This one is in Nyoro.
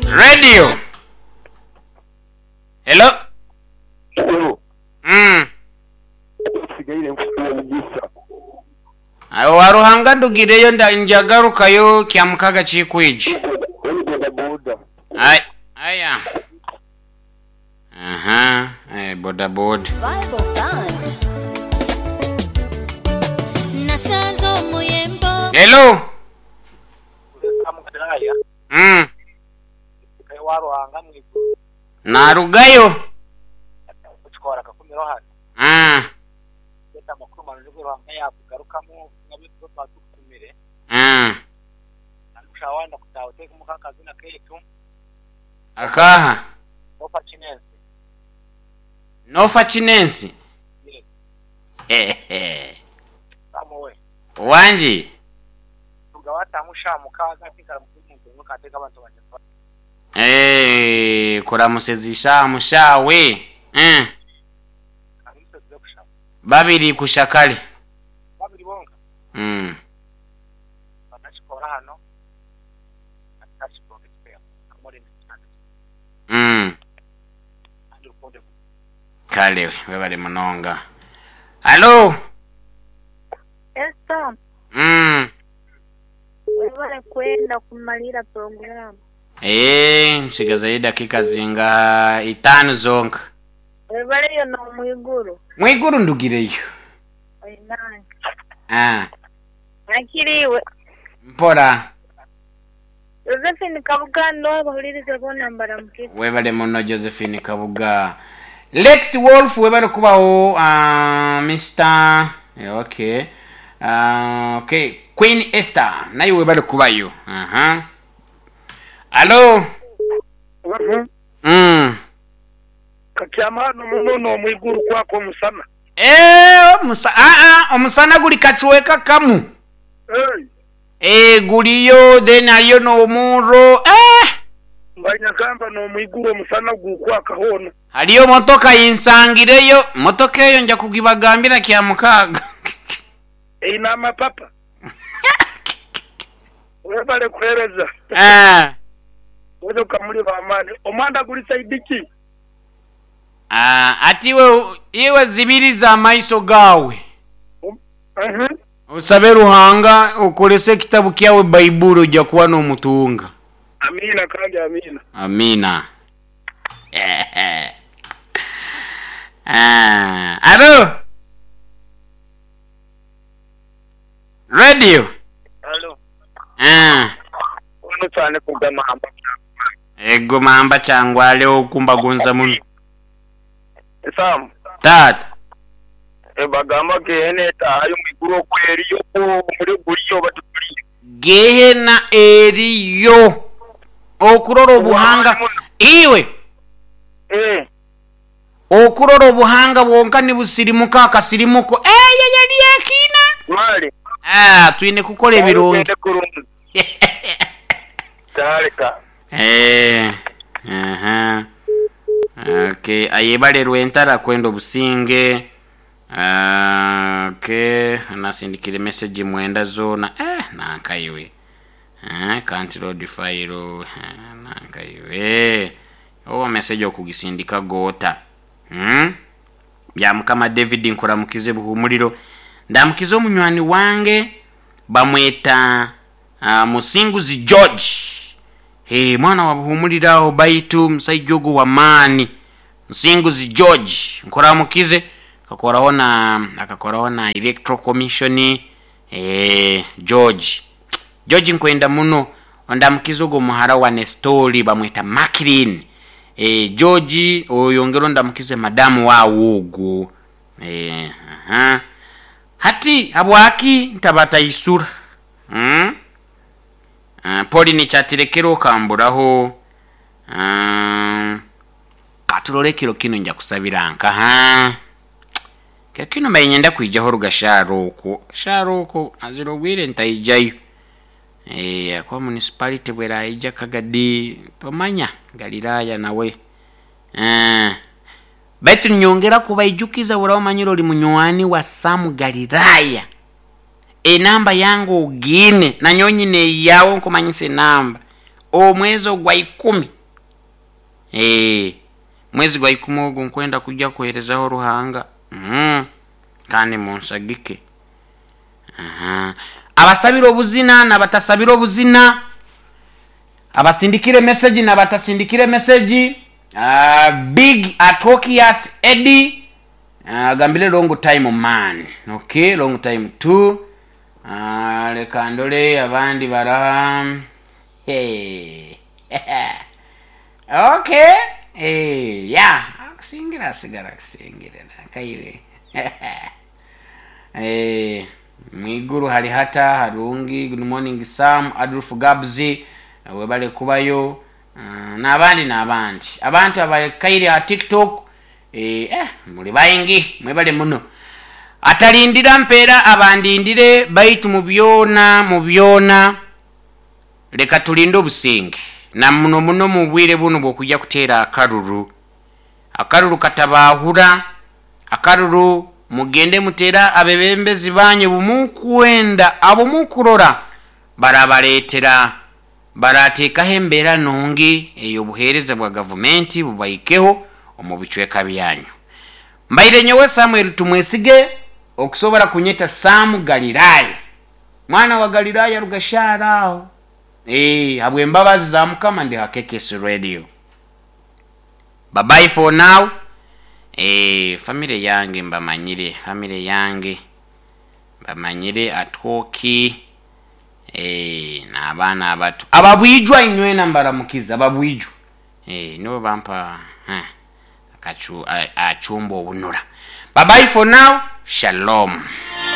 Radio. Hello. Awo Ruhanga ndugireyo njagarukayo kya mukaga kikwiji. Ay, aya. Aha, boda boda. Hello. Narugayo. Akaha. Nofa chinensi. Wanji. Kuramusezisha mushawe. Babiri kushakale. Babiri bonka. Kale webale munonga. Hello. Esther. Webale kwenda kumalira program. Nsigazayo dakika zinga 5 zonka. Webale yo no mwiguru. Mwiguru ndugireyo. Oinani. Nakiriwe. Mpora. Josephine Kabuga ndo abahuliriza bona mbaramukire. Webale muno Josephine Kabuga. Lex Wolf webale kubaho Mr. Okay. Okay, Queen Esther naye webale kubayo. Hello. Kakyamano muno mwiguru kwako musana. Omusana guli kachuweka kamu. Guliyo then aliyo no muro. Mbanyagamba no mwiguru omusana gukwaka hono. Haliyo motoka yinsangireyo, motoka eyo nja kugibagambira kya mukaga. Ina mapapa. Webale kuhereza. Wewe kamuli ba amani. Omanda guli saidiki. Ati iwe zibiriza amaiso gawe. Usabe Ruhanga ukolese kitabu kyawe Baibuli ojja kuba n'omutunga. Amina kandi amina. Amina. Alo. Radio. Alo. Ono cyane kugamamba. Ego mamba cyangwa leo kumbagonza muno. Sam. Tata. Bagamba gehene tayo mwiguru kweriyo muri guriyo baturiye. Gehena eriyo. Okurora obuhanga iwe. Okurora obuhanga bwonka nibusirimuka akasirimuko. Yali akina. Mali. Twine kukola ebirungi. Tarika. Okay, ayebale rwentara kwenda obusinge. Okay, nasindikire message mwenda zona. Nankaiwe. Can't load file. Nankaiwe. Owa message okugisindika gota. Bya mukama David nkuramukize buhumuliro. Ndamukize omunywani wange bamweta Musinguzi George. Mwana wa buhumuliraho baitu musaijogo wa mani. Musinguzi George nkuramukize akakoraho na Electoral Commission. George George nkwenda muno ondamukize ogo muhara wa Nestori bamweta Makirin. George oyongero ndamukize madamu wa wogo. Hati habwaki ntabata isura. Poli ni chatirekero kamburaho. Katulolekero kino nja kusabira nka. Kino mayinyenda kuijaho rugasharo sharoko azirogwire ntaijayo. Kwa municipality bwera ija kagadi tomanya Galilaya nawe. Baitu nyongera kubaijukiza urawamanyiro li munywani wa Sam Galilaya. Enamba yangu ogine na nyonyi ne yawo nkumanyise namba. Omwezi ogwa 10. Mwezi gwa 10 ogu nkwenda kujja kuheerezaho Ruhanga. Kandi munsagike. Abasabira obuzina n'abatasabira obuzina, abasindikire message n'abatasindikire message. Big Atokias Eddie agambire long time man. Okay, long time too. Leka ndole abandi bara. Hey. Okay. Hey, yeah. Akusingira asigara akusingira nakaiwe. Mwiguru hari hata harungi. Good morning Sam Adolf Gabzi, webale kubayo. N'abandi n'abandi abantu abakaire ha TikTok, muli baingi, mwebale muno. Atalindira mpeera abandindire, baitu mu byona mu byona leka tulinde obusinge, na muno muno mu bwire buno bw'okujja kuteera akaruru. Akaruru katabahura, akaruru mugende mutera abebembezi banyu bumukwenda abo mukurora barabaleetera, barateekaho embeera nungi ey'obuheereza bwa gavumenti bubaikeho omu bicweka byanyu. Mbaire nyowe Samuel Tumwesige, okusobora kunyeta Samu Galilaya, mwana wa Galilaya rugashara aho. Habw'embabazi za Mukama ndi ha KKS Radio. Bye bye for now. Family yange mbamanyire, family yange mbamanyire atwoki, n'abaana abato ababwijwa inywena mbaramukiza ababwijwa. Nibo bampa achumba obunura. Bye bye for now. Shalom.